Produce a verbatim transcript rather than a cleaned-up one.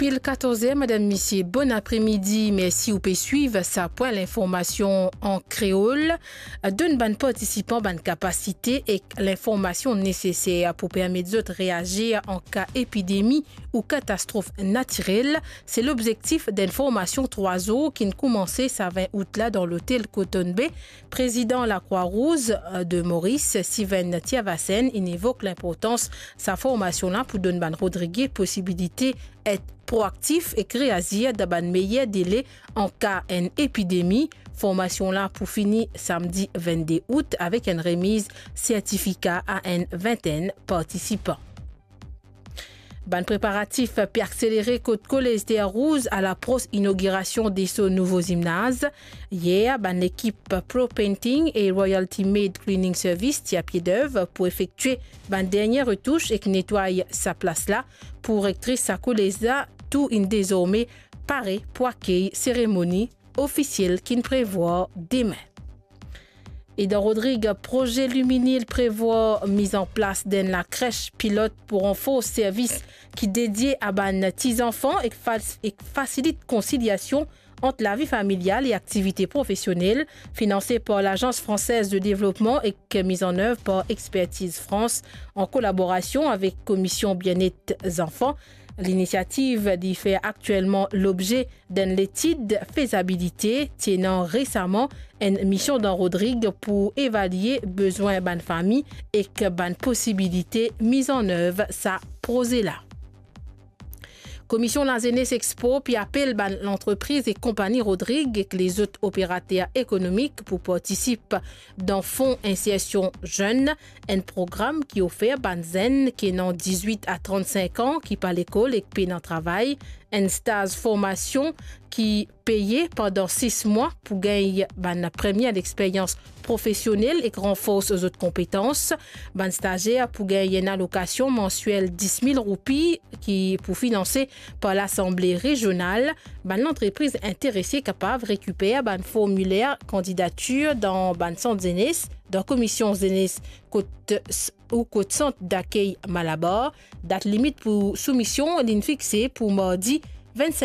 Pil katorz er, madam, misie, bonn apremidi. Mersi ou pe swiv sa pwin linformasion an kreol. Donn bann partisipan bann kapasite ek linformasion neseser pou permet zot reazir an ka epidemi ou katastrof natirel. Se lobzektif d'enn formasion trwa zour ki'nn koumanse sa vin out la dan lotel Cotton Bay. Prezidan Lakrwa Rouz, eh, de Moris, Steven Tiavasen, inn evok linportans sa formasion la pou donn bann Rodrige posibilite et proaktif ek reazir dan bann meyer dele an ka enn epidemi. Formasion la pou fini samdi vennde out avek enn remiz sertifika a enn vintenn partisipan. Bann preparatif pe akselere kot Kolez Ter Rouz a lapros inogirasion de so nouvo zimnaz. Yer, bann lekip Pro Painting e Royalty Made Cleaning Service ti a pie dev pou efektie bann dernie retous ek netway sa plas la. Pou rektris sa kolez la, tou inn dezorme pare pou akey seremoni ofisiel ki'nn prevwar demin. E dan Rodrig, proze Luminil prevwar mizanplas d'enn lakres pilot pou ranfors servis ki dedie a bann ti zanfan ek fas-, ek fasilit konsiliasion ant lavi familial e aktivite profesionel, finanse par Lazans Fransez de Devlopman ek miz an nev par Expertise France an kolaborasion avek Komision Bienet Zanfan. Linisiativ li fer aktielman lobze d'enn letid fezabilite, ti ena resaman enn mision dan Rodrig pou evalie bezwin bann fami ek bann posibilite miz an nev sa proze la. Komision Lazenes ek Spor pe apel bann lantrepriz ek konpani Rodrig ek lezot operater ekonomik pou partisip dan Fon Insersion Zenn, enn program ki ofer bann zenn ki ena dizwit a trannsenk an ki pa lekol ek pena travay, enn staz formasion ki peye pandan sis mwa pou gagn bann premie lexperyans profesionel ek ranfors zot konpetans. Bann stazer pou gagn enn alokasion mansiel dis mil roupi ki pou finanse par Lasanble Rezional. Bann lantrepriz interese kapav rekiper bann formiler kandidatir dan bann sant zenes, dan Komision Zenes kot s-, ou kot Sant Dakey Malabar. Dat limit pou soumision li'nn fixe pou mardi vennsink